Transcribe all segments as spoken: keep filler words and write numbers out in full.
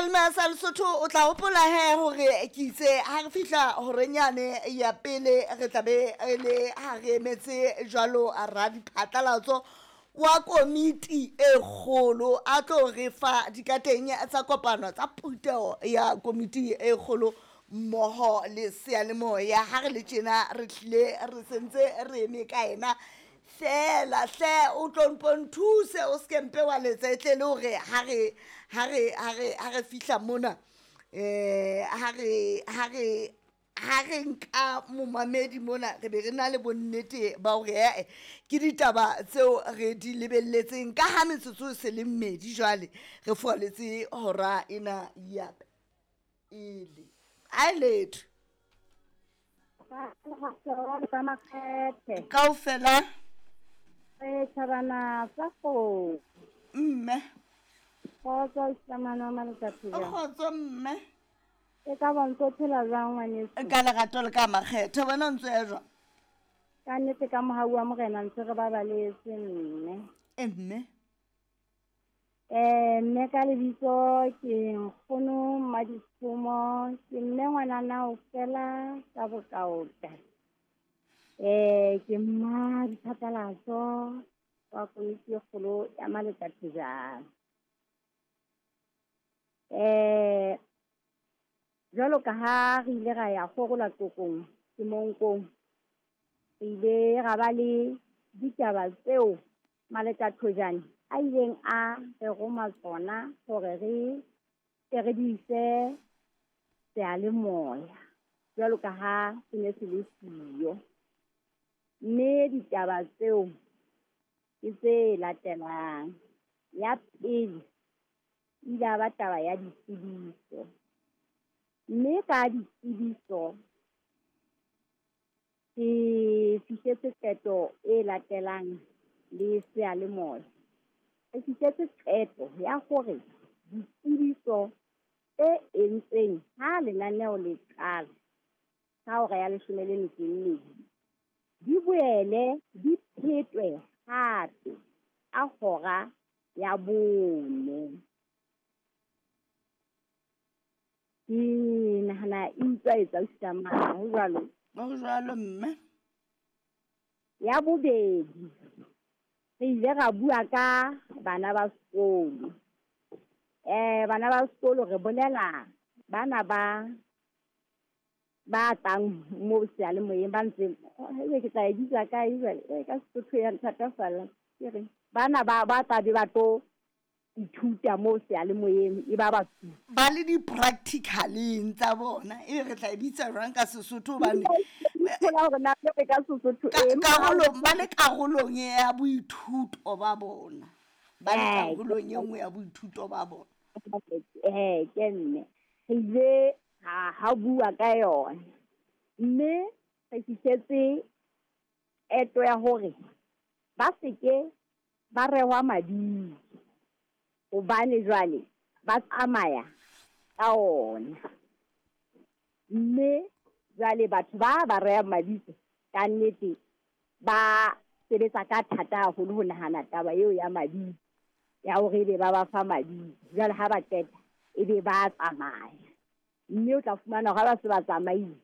Seyalemoya sa Lesotho o tla hopola he hore ke itse ha re fihla horenyane ya pele re tla be re le ha re emetse jwalo radiphatlalatso wa komiti e kgolo a tlo re fa dikateng tsa kopano tsa phuteho ya komiti e kgolo mmoho le seyalemoya. Ha re le tjena re tlile re sentse re eme ka ena fela hle o tlo mpo nthuse o se mpe wa letsa e tle le hore ha re ha re ha re ha re fihla mona eh ha re ha re ha re nka momamedi mona re be re na le bonnete ba hore ee ke ditaba tseo re di lebelletseng ka ha metsotso e se le mmedi jwale re furaletse hora ena ya pele. A letho kaofela Re thabana sa go mme kgotso Islamano wa Maletsatsi. Kgotso mme. E ka ba ntse o phela jwang ngwaneso? Ka lerato le ka makgetho wena o ntse ya jwang? Ka nnete ka mohau wa Morena ntse re babaletse mme. E mme. Eh mme ka lebitso ke Nkgono Mmaditshomo, ke mme ngwanana o fela ka bokaota. Eh ke mma diphatlalatso wa komiti e kgolo ya Maletsatsi. Eh jwalo ka ha re ile ra ya kgorola Tokong Semonkong, re ile ra ba le ditaba tseo Maletathojane a ileng a re roma tsona hore re tle re di ise seyalemoya jwalo ka ha se ne se le siyo. Mme ditaba tseo ke tse latelang. Ya pele ile ya ba taba ya ditsebiso. Mme ka ditsebiso ke fihletse qeto e latelang le seyalemoya. Re fihletse qeto ya hore ditsebiso tse entsweng ha lenaneo le qala ka hora ya leshome le metso e mmedi di boele di phetwe hape ka hora ya bone. Ke nahana e utlwa etsa ausi ho jwalo? Ho jwalo mme. Ya bobedi, re ile ra bua ka bana ba sekolo. Eh bana ba sekolo re bolela bana ba ba tlang mo seyalemoyeng ba ntse ebe ke tla e bitsa kae jwale e ka Sesotho ya nthatafalla ke reng bana ba ba tla be ba tlo ithuta mo seyalemoyeng e ba ba ba le di-practicaleng tsa bona ebe re tla e bitsa jwang ka Sesotho hobane thola hore na re ka Sesotho e karolong ba le karolong ya boithuto ba bona ba le karolong e nngwe ya boithuto ba bona. Eh ke mme re ile ha ha bua ka yona mme re fihletse qeto ya hore ba seke ba rehwa mabitso hobane jwale ba tsamaya ka ona. Mme jwale batho ba ba rehang mabitso ka nnete ba sebetsa ka thata haholo ho nahana taba eo ya mabitso ya hore ebe ba ba fa mabitso. Jwale ha ba qeta ebe ba tsamaya. Mme o tla fumana hore ha ba se ba tsamaile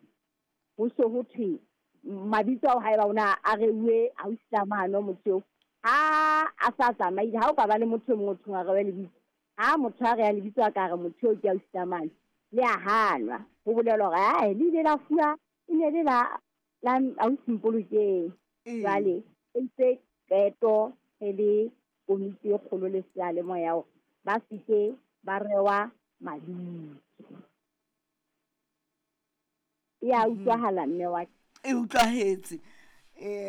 ho so ho thwe mabitso ao haeba ona a reuwe ausi mano motho eo ha a sa tsamaile ha o ka ba le motho e mong o thong a rewe lebitso ha motho a reya lebitso a ka re motho eo ke ausi mane le a hanwa ho bolelwa hore ae le ile la fuwa e ne le la la ausi Mpolokeng. Jwale e ntse qeto re le komiti e kgolo le seyalemoya hore ba seke ba rewa mabitso. E a utlwahala mme wa ka. E utlwahetse. Eh